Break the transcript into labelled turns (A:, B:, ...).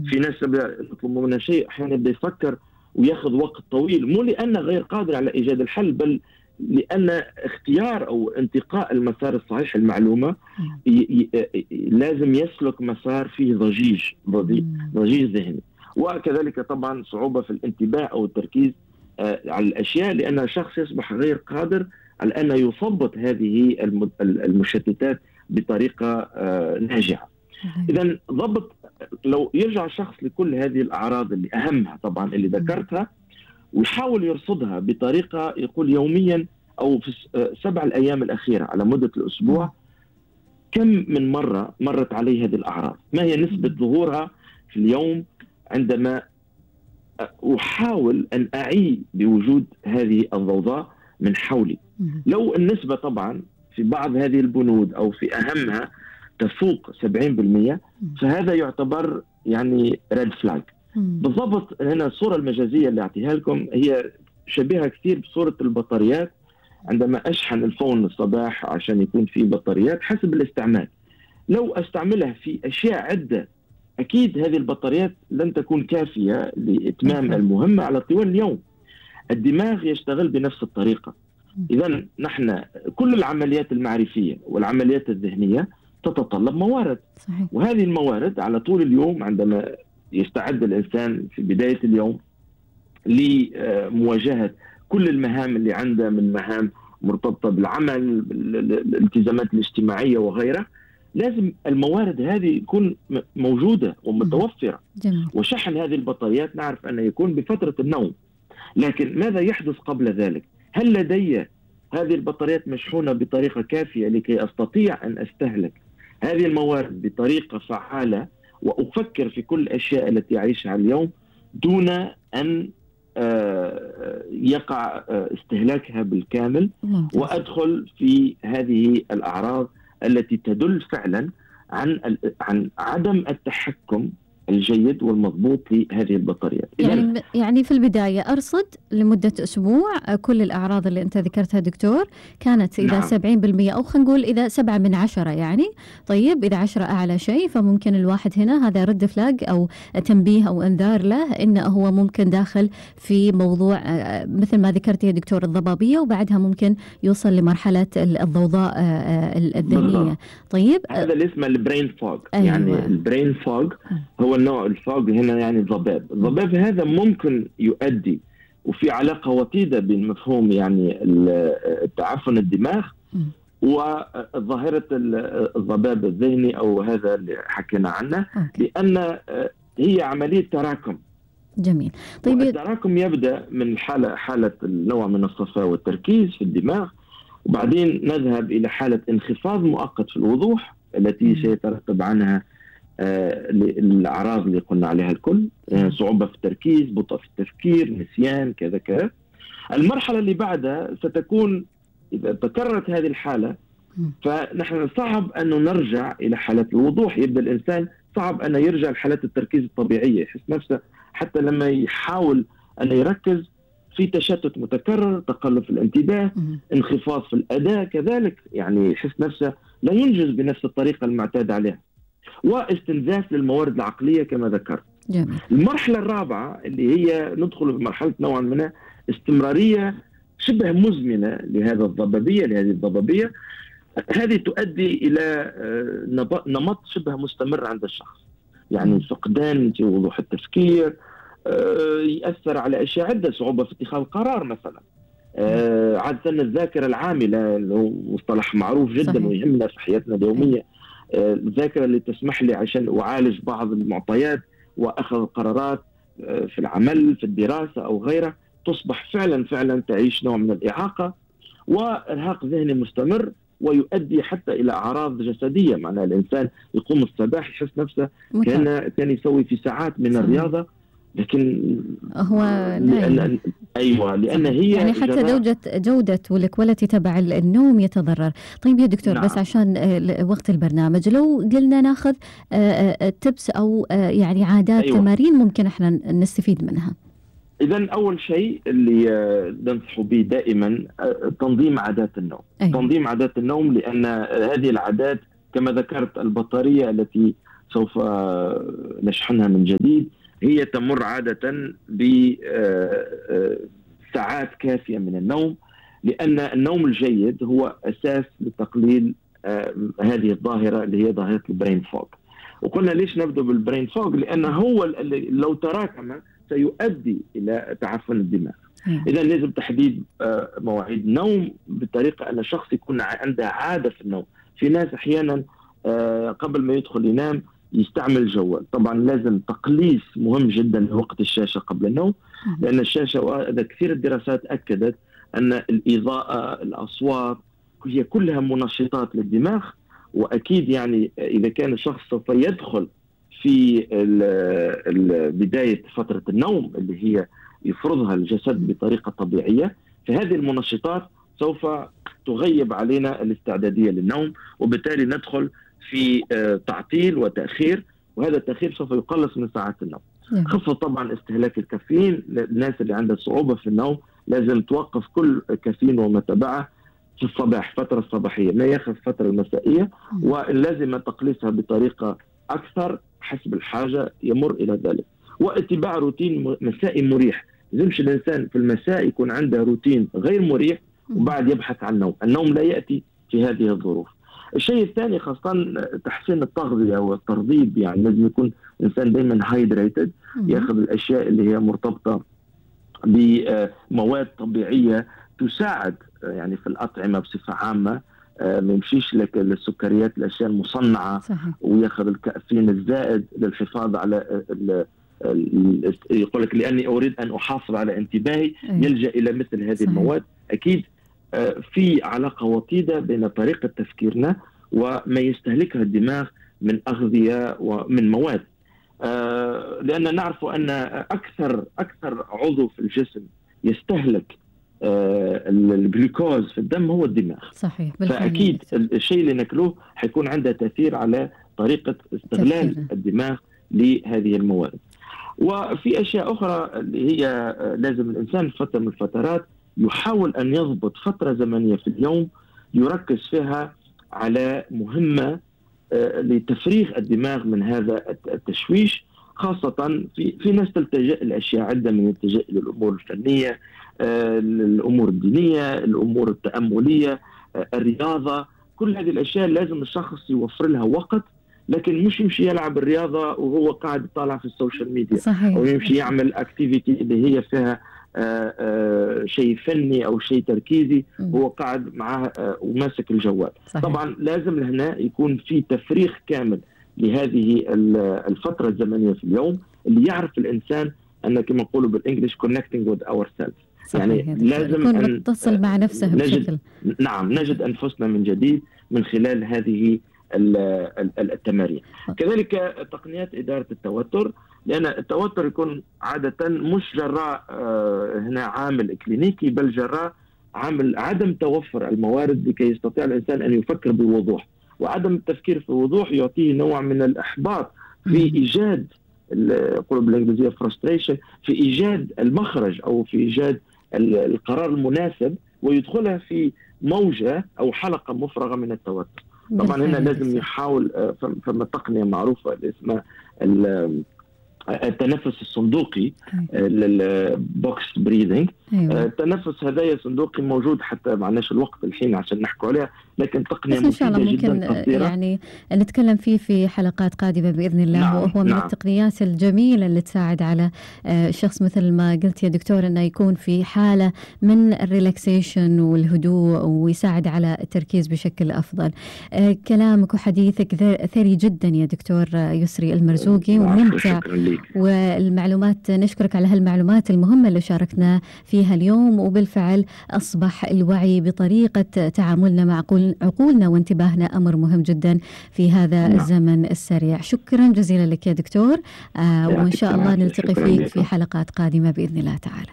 A: في ناس يطلبوا منها شيء أحيانا يبدأ يفكر وياخذ وقت طويل، مو لأنه غير قادر على إيجاد الحل، بل لأن اختيار أو انتقاء المسار الصحيح المعلومة لازم يسلك مسار فيه ضجيج ذهني، وكذلك طبعا صعوبة في الانتباه أو التركيز على الأشياء، لأن الشخص يصبح غير قادر على أن يثبط هذه المشتتات بطريقة ناجعة. إذن ضبط، لو يرجع الشخص لكل هذه الأعراض اللي أهمها طبعا اللي ذكرتها، ويحاول يرصدها بطريقة يقول يوميا أو في 7 الأيام الأخيرة على مدة الأسبوع، كم من مرة مرت عليه هذه الأعراض، ما هي نسبة ظهورها في اليوم عندما أحاول أن أعي بوجود هذه الضوضاء من حولي. لو النسبة طبعا في بعض هذه البنود أو في أهمها تفوق 70%، فهذا يعتبر يعني ريد فلاج. بالضبط هنا الصورة المجازية اللي أعطيها لكم هي شبيهة كثير بصورة البطاريات. عندما أشحن الفون الصباح عشان يكون فيه بطاريات حسب الاستعمال، لو أستعملها في أشياء عدة أكيد هذه البطاريات لن تكون كافية لإتمام المهمة على طوال اليوم. الدماغ يشتغل بنفس الطريقة. إذن نحن كل العمليات المعرفية والعمليات الذهنية تتطلب موارد، صحيح. وهذه الموارد على طول اليوم عندما يستعد الإنسان في بداية اليوم لمواجهة كل المهام اللي عنده من مهام مرتبطة بالعمل، بالالتزامات الاجتماعية وغيرها، لازم الموارد هذه يكون موجودة ومتوفرة. جميل. وشحن هذه البطاريات نعرف أنه يكون بفترة النوم، لكن ماذا يحدث قبل ذلك؟ هل لدي هذه البطاريات مشحونة بطريقة كافية لكي أستطيع أن أستهلك هذه الموارد بطريقة فعالة وأفكر في كل الأشياء التي أعيشها اليوم دون أن يقع استهلاكها بالكامل وأدخل في هذه الأعراض التي تدل فعلا عن عدم التحكم الجيد والمضبوط لهذه البطاريات.
B: يعني في البداية أرصد لمدة أسبوع كل الأعراض اللي أنت ذكرتها دكتور، كانت إذا نعم. 70% أو خلينا نقول إذا 7 من 10 يعني. طيب إذا 10 أعلى شيء، فممكن الواحد هنا هذا رد فلاج أو تنبيه أو إنذار له إنه هو ممكن داخل في موضوع مثل ما ذكرت يا دكتور الضبابية، وبعدها ممكن يوصل لمرحلة الضوضاء الذهنية. طيب
A: هذا اللي اسمه البرين فوج. أيوة. يعني البرين فوج هو النوع الفوج هنا، يعني الضباب هذا ممكن يؤدي، وفي علاقة وطيدة بين مفهوم يعني التعفن الدماغ وظاهرة الضباب الذهني أو هذا اللي حكينا عنه. لأن هي عملية تراكم.
B: جميل.
A: طيب التراكم يبدأ من حالة النوع من الصفاء والتركيز في الدماغ، وبعدين نذهب إلى حالة انخفاض مؤقت في الوضوح التي سيترتب عنها الأعراض اللي قلنا عليها الكل، صعوبة في التركيز، بطء في التفكير، نسيان، كذا كذا. المرحلة اللي بعدها ستكون إذا تكررت هذه الحالة فنحن صعب أنه نرجع إلى حالة الوضوح. يبدأ الإنسان صعب أنه يرجع لحالات التركيز الطبيعية، يحس نفسه حتى لما يحاول أن يركز في تشتت متكرر، تقلب في الانتباه، انخفاض في الأداء كذلك، يعني يحس نفسه لا ينجز بنفس الطريقة المعتاد عليها، واستنزاف للموارد العقلية كما ذكرت.
B: جميل.
A: المرحلة الرابعة اللي هي ندخل في مرحلة نوعا ما استمرارية شبه مزمنة لهذه الضبابية. هذه تؤدي إلى نمط شبه مستمر عند الشخص، يعني فقدان في وضوح التفكير، يأثر على أشياء عدة، صعوبة في اتخاذ قرار مثلا، عادة الذاكرة العاملة اللي هو مصطلح معروف جدا. صحيح. ويهمنا في حياتنا اليومية. الذاكرة اللي تسمح لي عشان أعالج بعض المعطيات وأخذ قرارات في العمل، في الدراسة أو غيرها، تصبح فعلا تعيش نوع من الإعاقة وإرهاق ذهني مستمر، ويؤدي حتى إلى أعراض جسدية. معناها الإنسان يقوم الصباح يحس نفسه كان يسوي في ساعات من الرياضة، لكن
B: هو
A: لأن هي
B: يعني حتى جودة والكواليتي تبع النوم يتضرر. طيب يا دكتور، نعم. بس عشان وقت البرنامج لو قلنا ناخذ تبس أو يعني عادات، تمارين ممكن احنا نستفيد منها.
A: إذن أول شيء اللي ننصح به دائما تنظيم عادات النوم. تنظيم عادات النوم، لأن هذه العادات كما ذكرت البطارية التي سوف نشحنها من جديد. هي تمر عادة بساعات كافية من النوم، لأن النوم الجيد هو أساس لتقليل هذه الظاهرة اللي هي ظاهرة البرين فوغ. وقلنا ليش نبدأ بالبرين فوغ؟ لأنه هو اللي لو تراكم سيؤدي إلى تعفن الدماغ. إذا لازم تحديد مواعيد نوم بطريقة أن الشخص يكون عنده عادة في النوم. في ناس أحيانا قبل ما يدخل ينام يستعمل الجوال. طبعا لازم تقليص مهم جدا لوقت الشاشة قبل النوم، لأن الشاشة كثير الدراسات أكدت أن الإضاءة، الأصوات، هي كلها منشطات للدماغ. وأكيد يعني إذا كان الشخص سوف يدخل في بداية فترة النوم اللي هي يفرضها الجسد بطريقة طبيعية، فهذه المنشطات سوف تغيب علينا الاستعدادية للنوم، وبالتالي ندخل في تعطيل وتأخير، وهذا التأخير سوف يقلص من ساعات النوم. خفض طبعا استهلاك الكافيين. الناس اللي عندها صعوبة في النوم لازم توقف كل كافيين وما تبعه في الصباح، فترة الصباحية، ما ياخذ فترة المسائية، ولازم تقليصها بطريقة أكثر حسب الحاجة يمر إلى ذلك. واتباع روتين مسائي مريح. لازمش الإنسان في المساء يكون عنده روتين غير مريح وبعد يبحث عن النوم. النوم لا يأتي في هذه الظروف. الشيء الثاني خاصة تحسين التغذية والترطيب. يعني لازم يكون الإنسان دائما هايدريتد، يأخذ الأشياء اللي هي مرتبطة بمواد طبيعية تساعد يعني في الأطعمة بصفة عامة. ما يمشيش لك السكريات، الأشياء المصنعة. صحيح. ويأخذ الكافيين الزائد للحفاظ على يقول لك لأني أريد أن أحافظ على انتباهي، يلجأ إلى مثل هذه. صحيح. المواد. أكيد في علاقة وطيدة بين طريقة تفكيرنا وما يستهلكها الدماغ من أغذية ومن مواد. لأن نعرف أن أكثر عضو في الجسم يستهلك الجلوكوز في الدم هو الدماغ. صحيح. فأكيد الشيء اللي ناكلوه حيكون عنده تأثير على طريقة استغلال الدماغ لهذه المواد. وفي أشياء أخرى اللي هي لازم الإنسان في فترة من الفترات يحاول أن يضبط فترة زمنية في اليوم يركز فيها على مهمة لتفريغ الدماغ من هذا التشويش. خاصة في ناس تلتجئ الأشياء عدة، من يلتجئ للأمور الفنية، الأمور الدينية، الأمور التأملية، الرياضة. كل هذه الأشياء لازم الشخص يوفر لها وقت، لكن مش يمشي يلعب الرياضة وهو قاعد يطالع في السوشيال ميديا. صحيح. أو يمشي يعمل اكتيفيتي اللي هي فيها شيء فني أو شيء تركيزي وهو قاعد معاه وماسك الجوال. صحيح. طبعا لازم هنا يكون في تفريغ كامل لهذه الفترة الزمنية في اليوم، اللي يعرف الإنسان أن كما نقولوا بالإنجليش connecting with ourselves. يعني لازم أن
B: نتصل مع نفسه بشكل.
A: نجد أنفسنا من جديد من خلال هذه التمارين. كذلك تقنيات إدارة التوتر، لأن التوتر يكون عادة مش جراء هنا عامل إكلينيكي، بل جراء عامل عدم توفر الموارد لكي يستطيع الإنسان أن يفكر بوضوح. وعدم التفكير في وضوح يعطيه نوع من الإحباط في إيجاد يقولوا بالإنجليزية frustration، في إيجاد المخرج أو في إيجاد القرار المناسب، ويدخلها في موجة أو حلقة مفرغة من التوتر. طبعا هنا لازم يحاول فما تقنية معروفة اسمها التنفس الصندوقي، البوكس بريذنج. التنفس هذا صندوقي موجود، حتى معناش الوقت الحين عشان نحكوا عليها، لكن تقنية
B: مفيدة
A: جدا. إن شاء الله
B: ممكن يعني نتكلم فيه في حلقات قادمة بإذن الله. نعم. وهو من التقنيات الجميلة اللي تساعد على الشخص مثل ما قلت يا دكتور أنه يكون في حالة من الريلاكسيشن والهدوء، ويساعد على التركيز بشكل أفضل. كلامك وحديثك ثري جدا يا دكتور يسري المرزوقي وممتع، والمعلومات نشكرك على هالمعلومات المهمة اللي شاركنا فيها اليوم. وبالفعل أصبح الوعي بطريقة تعاملنا مع عقولنا وانتباهنا أمر مهم جدا في هذا الزمن السريع. شكرا جزيلا لك يا دكتور، وإن شاء الله نلتقي فيك في حلقات قادمة بإذن الله تعالى.